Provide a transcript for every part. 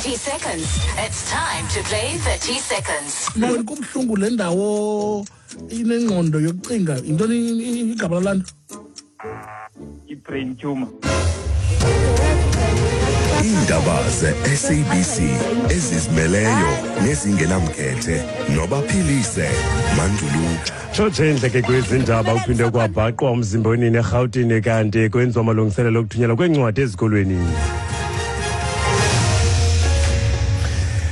30 seconds. It's time to play 30 seconds. Mawoni kubuhlungu le ndawo inengqondo yokucinga yintoni igama lalaa nto? I-brain tumor. Iindaba ze-SABC ezizimeleyo nezingenamkhethe nobaphilise Manduluka. Tshotshe indleke kwezi ndaba kuphinde kwabhaqwa umzimba wenini eRhawutini kanti kwenziwa amalungiselelo okuthunyelwa kweencwadi ezikolweni.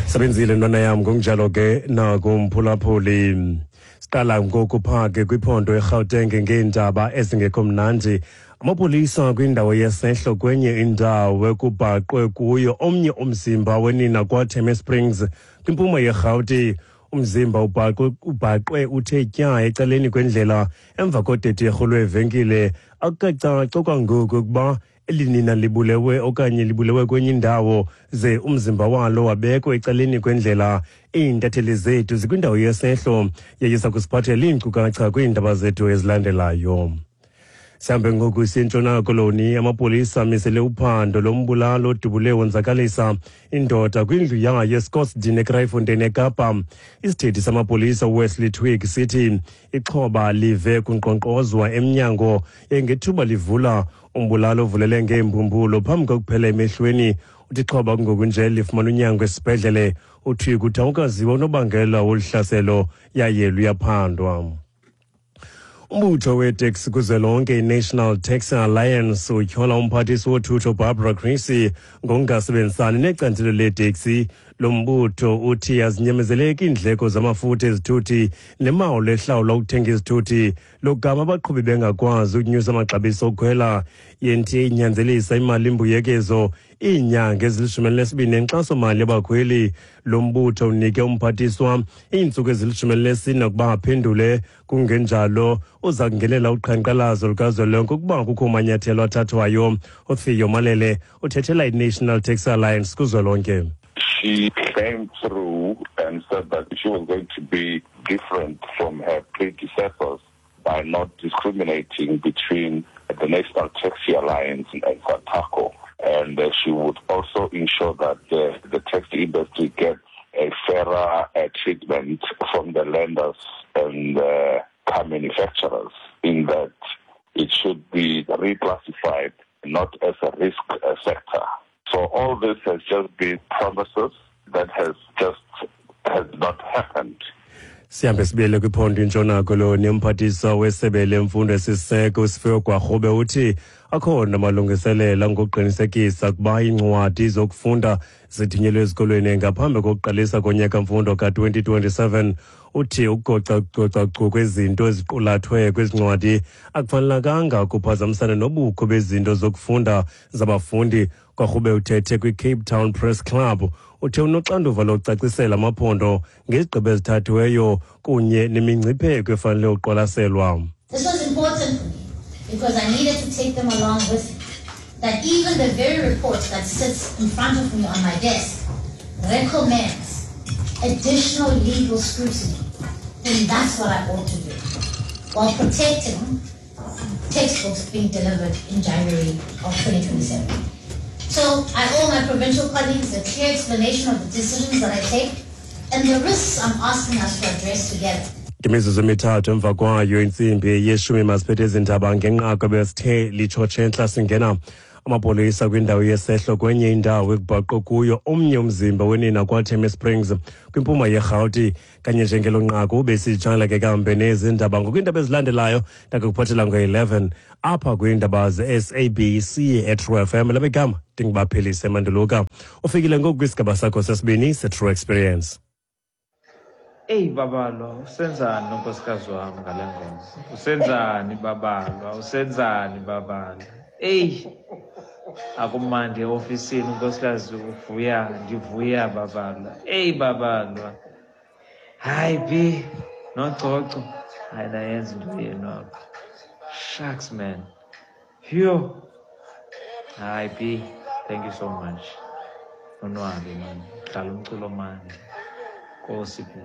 Sebenzile ntwana yam ngokunjalo ke nakumphulaphuli. Siqala ngoku phaa ke kwiphondo eRhawuteng ngeendaba ezingekho mnandi. Amapolisa kwindawo yesehlo kwenye indawo ekubhaqwe kuyo omnye umzimba wenina kwaTheme Springs kwimpuma yeRhawuti. Umzimba ubhaqwe, ubhaqwe uthe tya ecaleni kwendlela emva kodederhu lweevenkile. Akukacaci okwangoku ukuba eli nina libulewe okanye libulewe kwenye indawo ze umzimba walo wabekwa ecaleni kwendlela. Iintatheli zethu zikwindawo yesehlo yayisa kusiphathela iinkcukacha kwiindaba zethu ezilandelayo. Sihambe ngoku siye Koloni. Amapolisa amisele uphando lombulalo odubule wonzakalisa indoda kwindlu yayo eScottsdene eKraaifontein eKapa. Isithethi samapolisa uWesley Twigg sithi ixhoba live kunkqonkqozwa emnyango ngethuba livula umbulalo ovulele ngeembumbulo phambi kokuphela emehlweni. Uthi ixhoba kungoku nje lifumana unyango esibhedlele. UTwigg uthi awukaziwa unobangela wolu hlaselo yaye luyaphandwa. Umbutho weeteksi kuzwelonke iNational Taxi Alliance utyhola umphathiswa wothutho Barbara Creecy ngokungasebenzisani necandelo leeteksi. Lo mbutho uthi azinyamezeleki iindleko zamafutha ezithuthi nemali ehlawulwa ukuthenga izithuthi, logama abaqhubi bengakwazi ukunyusa amaxabiso okukhwela. I-NTA inyanzelisa imali imbuyekezo iinyanga ezili-12 nenkxasomali yabakhweli. Lo mbutho unike umphathiswa iintsuku ezili-14 ukuba aphendule, kungenjalo uza kungenela uqhankqalazo lukazwelonke ukuba kukho manyathelo athathwayo. UTheo Malele uthethela i-National Taxi Alliance kuzwelonke. She came through and said that she was going to be different from her predecessors by not discriminating between the National Taxi Alliance and SANTACO. And she would also ensure that the taxi industry gets a fairer treatment from the lenders and the car manufacturers, in that it should be reclassified not as a risk sector. So all this has just been promises that has just has not happened. Sihambe sibuyele kwiphondo iNtshona Koloni. Umphathiswa wesebe lemfundo esisiseko uSifiwe Gwarube uthi akhona amalungiselelo ngokuqinisekisa ukuba iincwadi zokufunda zithunyelwe ezikolweni ngaphambi kokuqalisa konyaka mfundo ka-2027. Uthi ukugocagoca kwezinto eziqulathwe kwezi ncwadi akufanelekanga kuphazamisana nobukho bezinto zokufunda zabafundi. Gwarube uthethe kwi-Cape Town Press Club. Uthe unoxanduva lokucacisela amaphondo ngezigqibo ezithathiweyo kunye nemingcipheko efanele uqwalaselwa. This was important for me because I needed to take them along with me. That even the very report that sits in front of me on my desk recommends additional legal scrutiny, then that's what I ought to do, while protecting textbooks being delivered in January of 2027. So I owe my provincial colleagues a clear explanation of the decisions that I take and the risks I'm asking us to address together. Ngemizuzu emithathu emva kwayo intsimbi yeshumi masiphethe ezindaba ngenqaku ebesithe litshotshe entla singena. Amapolisa kwindawo yesehlo kwenye indawo ekubhaqwe kuyo omnye umzimba wenina kwaTheme Springs kwimpuma yeRhawuti. Kanye njengelo nqaku besitshala ke kambe nezi ndaba ngokwiindaba ezilandelayo ndakukuphathela ngo-11 apha kwiindaba ze-SABC eTrue FM. Lam igama ndingubaphilise Manduluka. Ufikile ngoku kwisigaba sakho sesibini seTrue Experience. Eyi babalwa, usenzani nonkosikazi wami ngale ngoma? Usenzani babalwa? Usenzani babalwa? Eyi, akumandi eofisini unkosikazi uvuya, ndivuya babalwa. Eyi babalwa. Hayi bi, nococo. Hayi nayenza into yenu apha. Shucks man. Phew. Hayi bi, thank you so much. Nonwabe man, dlala umculo manje. Nkosi bi.